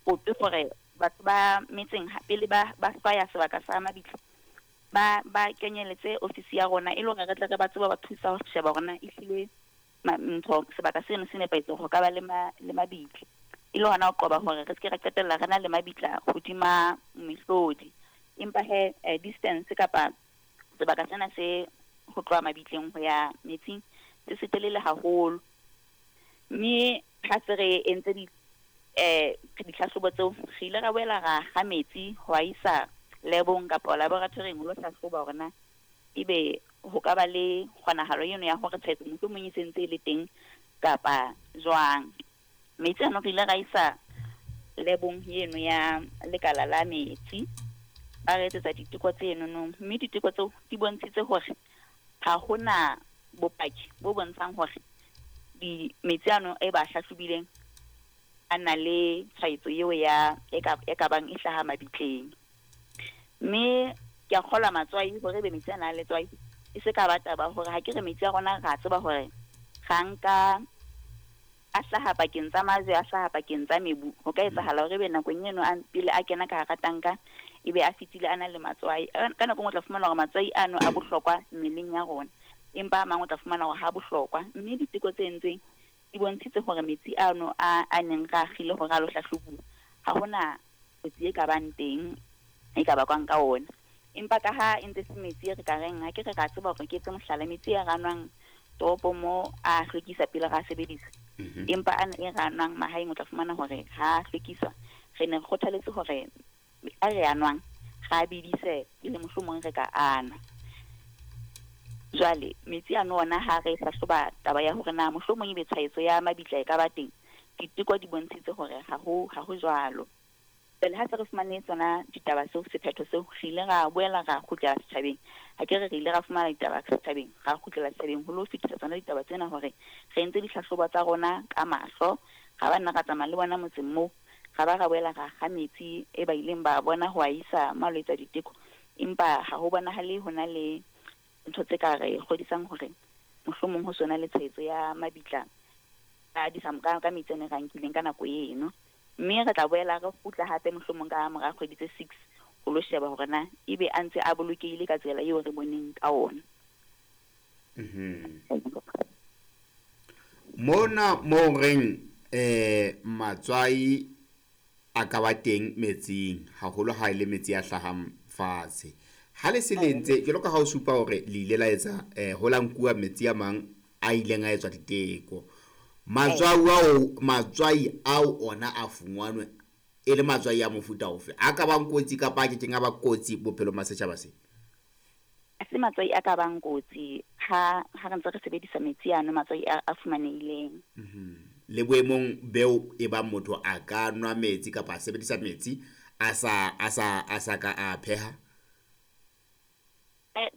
Kope hore batho ba metseng pele ba hlwaya sebaka sa mabitla, ba kenyeletse ofisi ya rona e le hore re tle re ba tsebe ba thusa ho sheba hore na ehlile ntho sebaka seno se nepahetse hore ho ka ba le mabitla. E le hona ho qoba hore re seke ra qetella re na le mabitla hodima mehlodi. Empa he distance kapa sebaka sena se ho tloha mabitleng ho ya metsing se setelele haholo. Mme ha se re entse ditlhahlobo tseo, re ile ra boela ra kga metsi ho a isa lebong kapa laboratory-ing ho lo hlahloba hore na ebe ho ka ba le kgonahalo eno ya hore tshwaetso mohlomong e sentse e le teng kapa jwang. Metsi ano re ile ra isa lebong eno ya lekala la metsi, ba re etsetsa diteko tseno, mme diteko tseo di bontshitse hore ha hona bopaki bo bontshang hore metsi ano e ba hlahlobileng a na le tshwaetso eo ya e ka bang e hlaha mabitleng. Mme ke a kgolwa matswai hore ebe metsi ana a letswai e se ka ba taba hore ha ke re metsi a rona ra tseba hore ra nka a hlaha pakeng tsa majwe, a hlaha pakeng tsa mebu. Ho ka etsahala hore ebe nakong eno pele a kena ka hara tanka ebe a fetile a na le matswai. Ka nako e nngwe o tla fumana hore matswai ano a bohlokwa mmeleng ya rona, empa a mang o tla fumana hore ha bohlokwa. Mme diteko tse entsweng di bontshitse hore metsi ano a neng re a kgile hore a lo hlahlobuwa, ha hona kotsi e ka bang teng e ka bakwang ka ona. Empa ka ha e ntse se metsi e re ka reng, ha ke re ra tseba hore ke etse mohlala, metsi a re nwang toropong mo a hlwekisa pele ra sebedisa. Empa ana e re nwang mahaeng o tla fumana hore ha hlwekiswa. Re ne re kgothaletse hore a re a nwang ra bidise pele mohlomong re ka anwa. Jwale metsi ano ona ha re hlahloba taba ya hore na mohlomong ebe tshwaetso ya mabitla e ka ba teng, diteko di bontshitse hore ha ho jwalo. Jwale ha se re fumane tsona ditaba tseo, sephetho seo, re ile ra boela ra kgutlela setjhabeng. Ha ke re re ile ra fumana ditaba setjhabeng, ra kgutlela setjhabeng ho lo fetisa tsona ditaba tsena hore re entse dihlahlobo tsa rona ka mahlo, ra ba nna ra tsamaya le bona motseng moo, ra ba ra boela ra kga metsi e ba ileng ba bona ho a isa malwetse a diteko. Empa ha ho bonahale ho na le ntho tse ka re kgodisang hore mohlomong ho sona le tshwaetso ya mabitla ka metsi a ne re nkileng ka nako eno. Mme re tla boela re kgutla hape mohlomong ka mora kgwedi tse 6 ho lo sheba hore na ebe a ntse a bolokehile ka tsela eo re boneng ka ona. Mona mo reng matswai a ka ba teng metsing, haholo ha ile metsi a hlahang fatshe. Ha le se le ntse jwalo ka ha o supa hore le ile la etsa ho la nkuwa metsi a mang a ileng a etswa diteko. Matswai ao ona a fumanwe e le matswai a mofuta ofe? A ka bang kotsi kapa a kekeng a ba kotsi bophelong ba setjhaba se? Se matswai a ka bang kotsi ha re ntse re sebedisa metsi ano, matswai a fumanehileng. Le boemong beo e bang motho a ka nwa metsi kapa a sebedisa metsi a sa ka a pheha?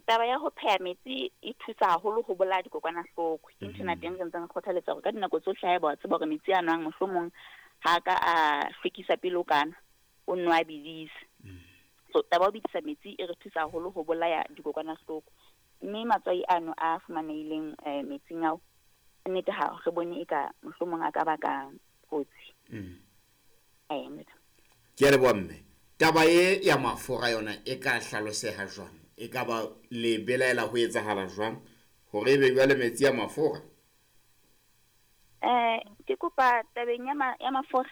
Taba ya ho pheha metsi e thusa haholo ho bolaya dikokwanahloko. Ke nthwena teng re ntseng re kgothaletsa hore ka dinako tsohle haeba wa tseba hore metsi a nwang mohlomong ha ka a hlwekisa pele o kana, o nwa bidise. So taba ya ho bidisa metsi e re thusa haholo ho bolaya dikokwanahloko. Mme matswai ano a fumanehileng metsing ao, nnete ha re bone e ka mohlomong a ka baka kotsi. Ke a leboha mme. Taba e ya mafura yona e ka hlaloseha jwang? E ka ba le belaela ho etsahala jwang hore ebe jwale metsi a mafura? Ke kopa tabeng ya mafura